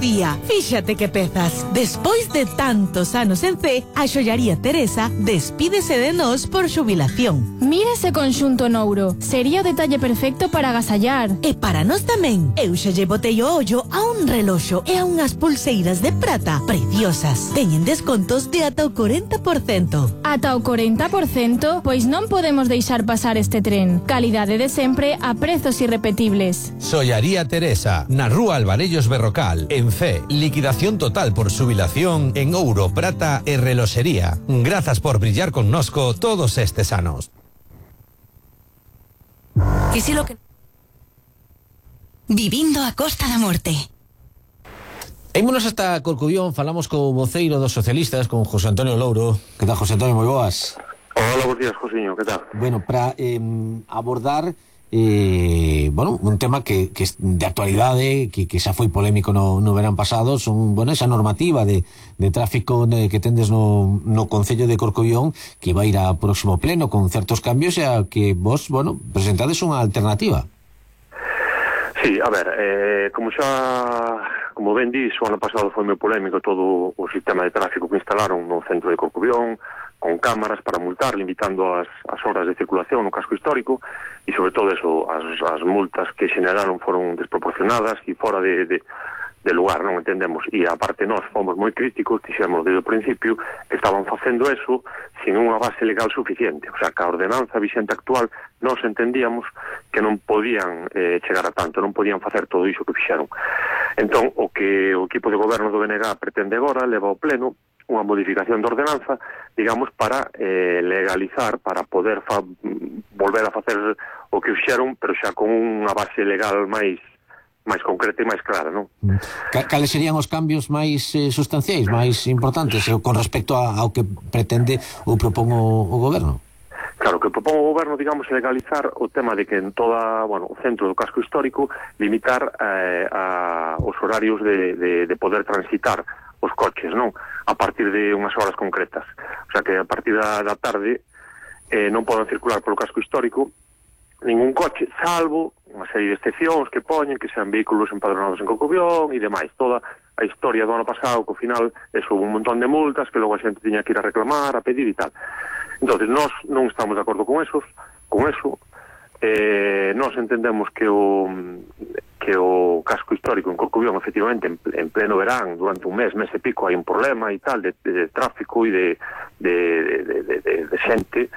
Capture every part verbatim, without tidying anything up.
Lucía, fíxate que pezas. Despois de tantos anos en C, a xollaría Teresa despídese de nós por xubilación. Mira ese conxunto nouro. Sería o detalle perfecto para agasallar. E para nós tamén. Eu xa lle botei o ollo a un reloxo e a unhas pulseiras de prata preciosas. Teñen descontos de ata o cuarenta por cento. Ata o cuarenta por cento? Pois non podemos deixar pasar este tren. Calidade de sempre a prezos irrepetibles. Xollaría Teresa, na rúa Alvarellos Berrocal, en C. Liquidación total por xubilación en ouro, prata e reloxería. Grazas por brillar connosco todos estes anos. Que si lo que... Vivindo a Costa da Morte. Ímonos hasta Corcubión, falamos co voceiro dos socialistas, con José Antonio Louro. Que tal, José Antonio? Moi boas. Hola, bons días, Josiño, que tal? Bueno, para eh, abordar eh, bueno, un tema que, que es de actualidade, que, que xa foi polémico no, no verán pasado, son, bueno, esa normativa de, de tráfico de, que tendes no, no Concello de Corcubión, que vai ir a próximo pleno con certos cambios, e a que vos, bueno, presentades unha alternativa. Sí, a ver, eh, como xa, como ben dis, o ano pasado foi moi polémico todo o sistema de tráfico que instalaron no centro de Corcubión, con cámaras para multar, limitando as, as horas de circulación no casco histórico, e sobre todo eso, as, as multas que xeneraron foron desproporcionadas e fora de, de, de lugar, non entendemos. E aparte nós fomos moi críticos, dixemos desde o principio que estaban facendo eso sin unha base legal suficiente, o sea, que a ordenanza vixente actual nós entendíamos que non podían eh, chegar a tanto, non podían facer todo iso que fixeron. Entón, o que o equipo de goberno do B N G pretende agora leva ao pleno unha modificación de ordenanza, digamos, para eh, legalizar, para poder fa volver a facer o que fixeron, pero xa con unha base legal máis máis concreta e máis clara, non? Cales serían os cambios máis eh, sustanciais, máis importantes, eh, con respecto a, ao que pretende ou propón o, o goberno? Claro, que propón o goberno, digamos, legalizar o tema de que en toda, bueno, o centro do casco histórico limitar eh, a, os horarios de, de, de poder transitar os coches, non? A partir de unhas horas concretas. O sea, que a partir da, da tarde eh, non poden circular polo casco histórico ningún coche, salvo unha serie de excepcións que poñen, que sean vehículos empadronados en Corcubión e demais. Toda a historia do ano pasado, que ao final eso, un montón de multas que logo a xente tiña que ir a reclamar, a pedir e tal. Entonces, nós non estamos de acordo con esos, con eso. Eh, nós entendemos que o que o casco histórico en Corcubión, efectivamente, en, en pleno verán, durante un mes, mes e pico, hai un problema e tal, de, de, de tráfico e de, de, de, de, de, de xente,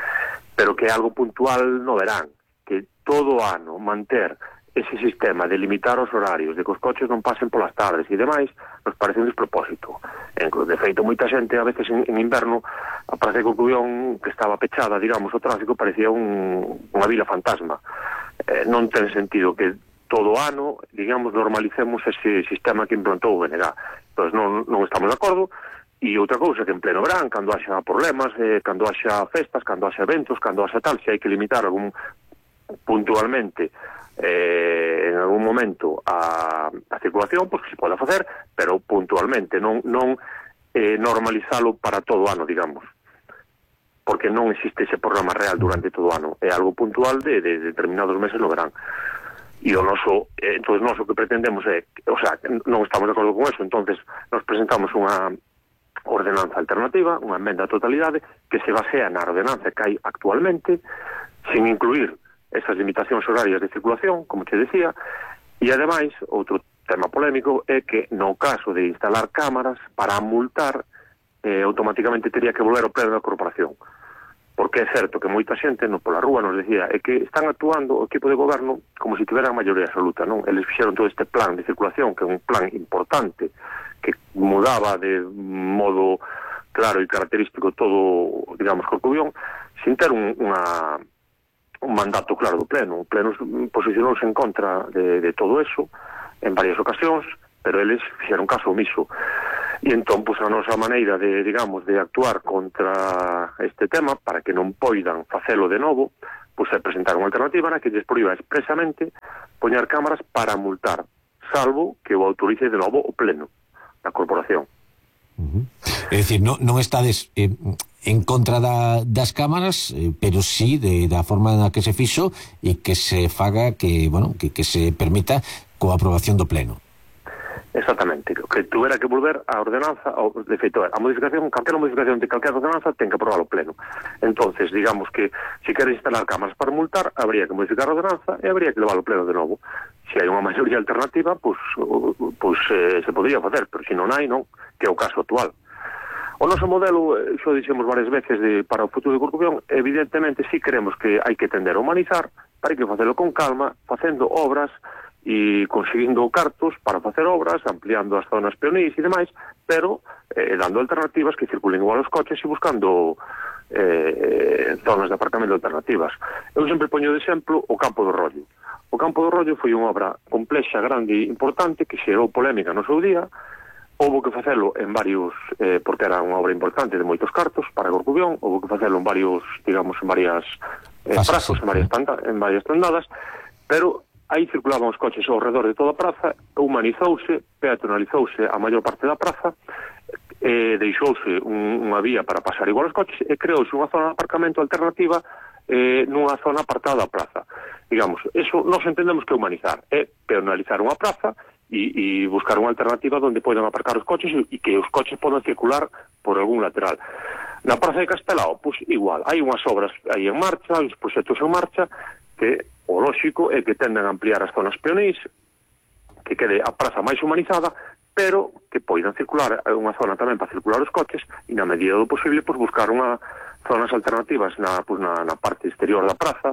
pero que é algo puntual no verán, que todo o ano manter ese sistema de limitar os horarios, de que os coches non pasen polas tardes e demais, nos parece un despropósito. De feito, moita xente, a veces en, en inverno, a Praza de Corcubión, que estaba pechada, digamos, o tráfico, parecía un, unha vila fantasma. Eh, non ten sentido que todo o ano, digamos, normalicemos ese sistema que implantou o B N G. Entón, non, non estamos de acordo. E outra cousa, que en pleno verán, cando haxa problemas, eh, cando haxa festas, cando haxa eventos, cando haxa tal, se hai que limitar algún puntualmente eh, en algún momento a, a circulación, pois que se pode facer, pero puntualmente, non, non eh, normalizalo para todo o ano, digamos, porque non existe ese programa real durante todo o ano, é algo puntual de, de determinados meses no verán. E o noso, eh, entón, noso que pretendemos é, o sea, non estamos de acordo con eso, entonces nos presentamos unha ordenanza alternativa, unha emenda a totalidade, que se basea na ordenanza que hai actualmente, sin incluir esas limitacións horarias de circulación, como te decía, e ademais, outro tema polémico é que no caso de instalar cámaras para multar, eh, automáticamente teria que volver ao pleno da corporación. Porque é certo que moita xente no pola rúa nos decía é que están actuando o equipo de goberno como se tiveran maioría absoluta, non? Eles fixeron todo este plan de circulación, que é un plan importante, que mudaba de modo claro e característico todo, digamos, Corcubión, sin ter un, unha, un mandato claro do pleno. O pleno posicionouse en contra de, de todo eso en varias ocasións, pero eles fixeron caso omiso. E entón, pois, a nosa maneira de, digamos, de actuar contra este tema, para que non poidan facelo de novo, pois é presentar unha alternativa na que lles proíba expresamente poñer cámaras para multar, salvo que o autorice de novo o pleno da corporación. Uh-huh. É dicir, non, non estades eh, en contra da, das cámaras, eh, pero sí de, da forma na que se fixo e que se faga que, bueno, que, que se permita coa aprobación do pleno. Exactamente, que tuvera que volver a ordenanza, ao, de feito, a modificación, calquera modificación de calquera ordenanza ten que aprobar o pleno. Entonces, digamos que se quere instalar cámaras para multar, habría que modificar a ordenanza e habría que levar o pleno de novo. Se hai unha maioría alternativa, pues, pues eh, se podría facer, pero se non hai, non, que é o caso actual. O noso modelo, xo dixemos varias veces de, para o futuro de Corcubión, evidentemente si queremos que hai que tender a humanizar, para que facelo con calma, facendo obras e conseguindo cartos para facer obras, ampliando as zonas peonís e demais, pero eh, dando alternativas que circulen igual os coches e buscando eh, zonas de aparcamento alternativas. Eu sempre poño de exemplo o Campo do Rollo. O Campo do Rollo foi unha obra complexa, grande e importante que xerou polémica no seu día. Houbo que facelo en varios, eh, porque era unha obra importante de moitos cartos para Corcubión, houbo que facelo en varios, digamos, en varias eh, prazos, en varias, tanda, en varias tandadas, pero aí circulaban os coches ao redor de toda a praza, humanizouse, peatonalizouse a maior parte da praza, eh, deixouse un, unha vía para pasar igual os coches e creouse unha zona de aparcamento alternativa eh, nunha zona apartada da praza. Digamos, eso nos entendemos que humanizar, é peatonalizar unha praza e, e buscar unha alternativa onde poidan aparcar os coches e que os coches podan circular por algún lateral. Na praza de Castelao, pois igual, hai unhas obras aí en marcha, hai uns proxectos en marcha que o lóxico é que tenden a ampliar as zonas peonís, que quede a praza máis humanizada, pero que poidan circular unha zona tamén para circular os coches e na medida do posible pues, buscar unha zonas alternativas na, pues, na, na parte exterior da praza,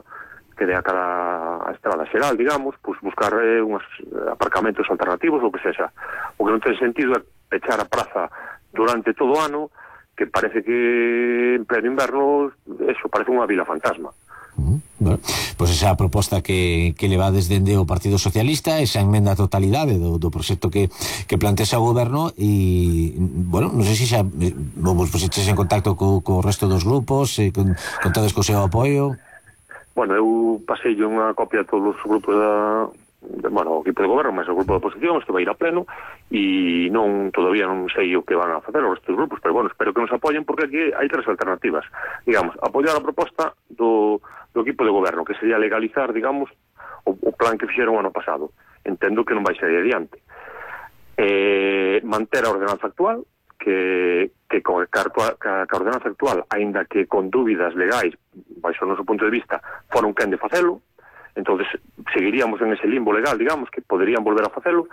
que dé a cada a estrada xeral, digamos, pues, buscar eh, uns aparcamentos alternativos, ou que sexa. O que non ten sentido é pechar a praza durante todo o ano, que parece que en pleno inverno eso parece unha vila fantasma. Uh, bueno, pois esa proposta que, que levades dende o Partido Socialista, esa enmenda a totalidade do, do proxecto que, que plantexa o goberno e, bueno, non sei se xa vos poseches en contacto co, co resto dos grupos, eh, con, contades co seu apoio. Bueno, eu pasei unha copia a todos os grupos da, de, bueno, o equipo de goberno, mas o grupo da oposición, este vai ir a pleno e non, todavía non sei o que van a facer os restos grupos, pero bueno, espero que nos apoyen porque aquí hai tres alternativas. Digamos, apoiar a proposta do do equipo de goberno, que sería legalizar, digamos, o, o plan que fixeron o ano pasado. Entendo que non vai ser adiante. Eh, manter a ordenanza actual, que, que con a, a, a ordenanza actual, aínda que con dúbidas legais, baixo o noso punto de vista, foron quen de facelo, entonces seguiríamos en ese limbo legal, digamos, que poderían volver a facelo,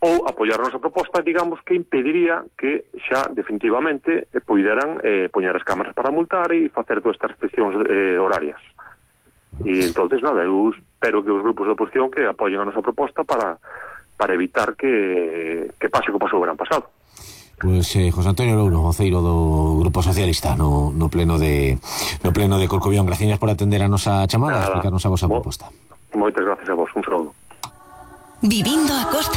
ou apoiar a nosa proposta, digamos, que impediría que xa definitivamente eh, poideran eh, poñer as cámaras para multar e facer todas estas restriccións eh, horarias. E entonces, nada, eu espero que os grupos de oposición que apoyen a nosa proposta para, para evitar que, que pase o que pasou o verán pasado. Pois eh, José Antonio Louro, voceiro do Grupo Socialista no, no pleno de no pleno de Corcubión, gracias por atender a nosa chamada e explicarnos a vosa proposta. Moitas gracias a vos, un saúdo. Vivindo a Costa